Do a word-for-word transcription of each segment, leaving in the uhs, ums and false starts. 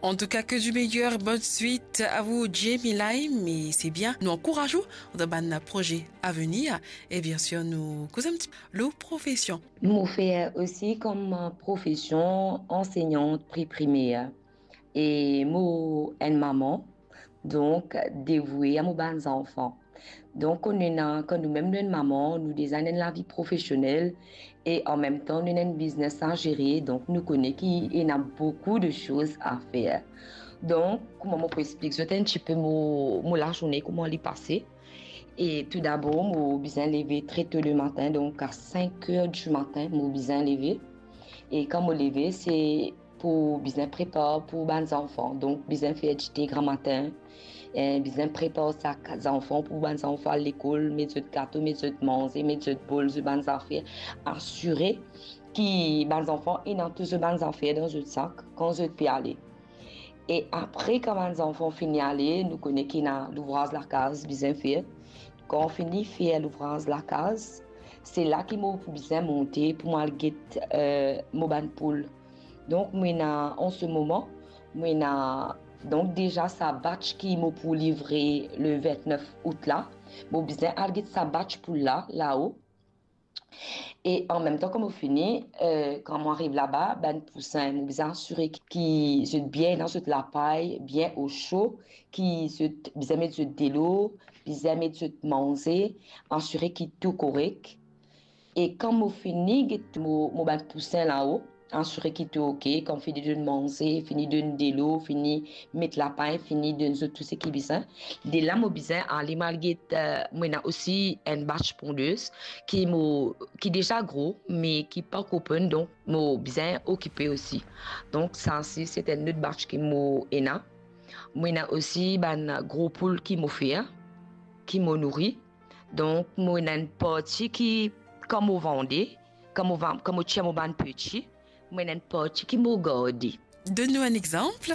En tout cas, que du meilleur, bonne suite à vous, Jamie Lime. Et c'est bien, nou ankouraz ou dan bann proze avenir. E bien sir, nou koz enn ti lor profesion. Mo fer osi kom profesion ansegnant pre-primer. E mo enn mama, donk devoue a mo bann zanfan. Donk, kan nou ena, kan nou mem nou enn mama, nou deza ena enn lavi profesionel e an mem tan nou ena enn biznes a zere, donk nou kone ki ena boukou de soz a fer. Donk, kouma mo pou explik zot enn tipe mo, mo lazourne, kouma li pase. E toudabor, mo bizin leve tre to lematin, donk a cinq heures du matin, mo bizin leve. E kan mo leve, se pou bizin prepar pou bann zanfan. Donk, bizin fer dite gramatin, eh, bizin prepar sak zanfan pou bann zanfan al lekol, met zot gato, met zot manze, met zot bol, zot bann zafer, asire ki bann zanfan ena tou zot bann zafer dan zot sak kan zot pe ale. E apre, kan bann zanfan fini ale, nou kone ki ena louvraz lakaz bizin fer. Kan fini fer louvraz lakaz, se la ki mo pou bizin monte pou mo al get, eh, mo bann poul. Donk, mo ena, an se moman, mo ena, donk, deza sa batch ki mo pou livre le vingt-neuf out la. Mo bizin al get sa batch poul la, lao. E an mem tan, kan mo fini, eh, kan mo ariv laba, bann pousin, mo bizin asire ki, ki zot bien ena zot lapay, bien o so, ki zot bizin met zot delo, bizin met zot manze, asire ki tou korek. E kan mo fini get mo, mo bann pousin lao, asire ki tou oke, kan fini donn manze, fini donn delo, fini met lapay, fini donn zot tou seki bizin. De la, mo bizin ale mo al get, eh, mo ena osi enn batch pondez ki mo, ki deza gro, me ki pankor ponn, donk mo bizin okipe osi. Donk sa si, se enn lot batch ki mo ena. Mo ena osi bann gro poul ki mo fer, ki mo nouri. Donk, mo ena enn parti ki, kan mo vande, kan mo va-, kan mo tir mo bann peti, mo ena enn parti ki mo garde. Donn nou enn exanp.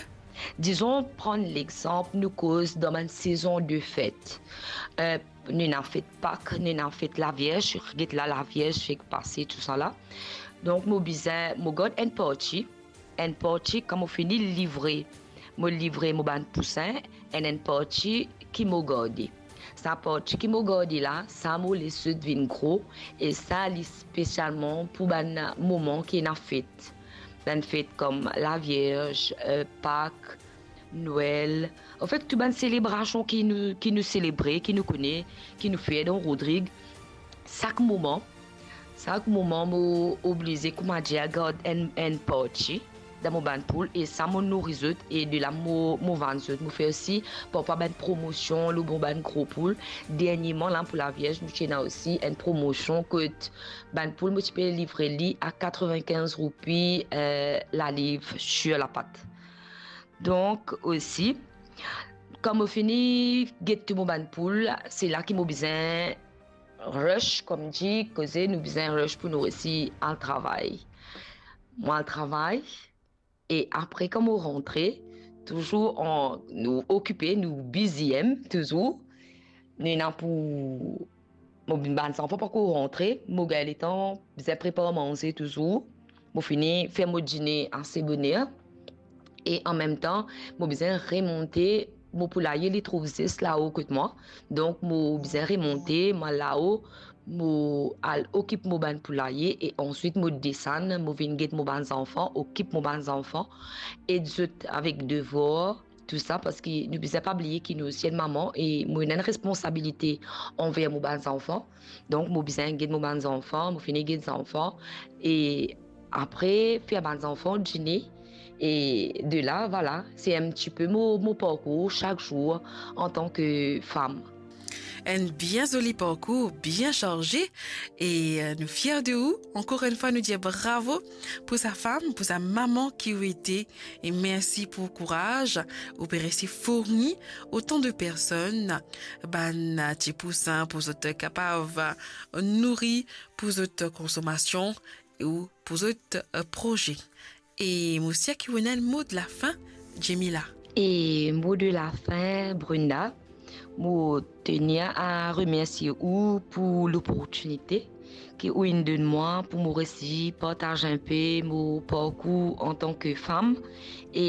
Dizon, pran lexanp, nou koz dan bann sezon de fet. Eh, nou ena fet Pak, nou ena fet Lavierz, get la Lavierz fek pase, tousala. Donk, mo bizin, mo gard enn parti, enn parti, kan mo fini livre, mo livre mo bann pousin, enn, enn parti ki mo garde. Sa parti ki mo garde la, sa mo les zot vinn gro, e sa li spesialman pou bann moman ki ena fet. Bann fet kom Lavierz, eh, Pak, Nwel. Anfet, tou bann selebrasion ki nou, ki nou selebre, ki nou kone, ki nou fer dan Rodrig, sak moman, sak moman mo oblize, koumadir, gard enn, enn parti dan mo bann poul, e sa mo nouri zot, e de la mo, mo vann zot. Mo fer osi parfwa bann promosion lor mo bann gro poul. Dernieman la, pou Lavierz, nou ti ena osi enn promosion kot bann poul mo ti pe livre li a quatre-vingt-quinze roupi, eh, laliv sir lapat. Donk osi, kan mo fini get tou mo bann poul, se la ki mo bizin rush, kouma dir, koze nou bizin rush pou nou resi al travay. Mo al travay, e apre, kan mo rantre, touzour an, nou okipe, nou busy, em, touzour. Nou ena pou, mo, bann zanfan pankor rantre, mo gagn letan bizin prepar manze touzour. Mo fini fer mo dine ase boner. E an mem tan, mo bizin remonte, mo poulaye li trouv zis lao kot mwa. Donk, mo bizin remonte, mo al lao, mo al okip mo bann poulaye, e answit mo desann, mo vinn get mo bann zanfan, okip mo bann zanfan, ed zot avek devwar, tou sa, parski nou bizin pa bliye ki nou osi enn mama, e mo ena enn responsabilite anver mo bann zanfan. Donk, mo bizin get mo bann zanfan, mo fini get zanfan, e apre, fer bann zanfan dine, e de la, vwala, se enn tipe mo, mo parkour sak zour antan ki fam. Enn bien zoli parkour, bien sarze, e, eh, nou fier de ou. Ankor enn fwa, nou dir bravo pou sa fam, pou sa mama ki ou ete, e mersi pou kouraz ou pe resi fourni otan de personn bann ti pousin pou zot kapav nouri, pou zot konsomasion ou pou zot, eh, proze. E mo sir ki ou ena enn mo de la fin, Jamila. E mo de la fin, Brenda, mo tenir a remersie ou pou loportinite ki ou inn donn mwa pou mo resi partaz enpe mo parkour antan ki fam. E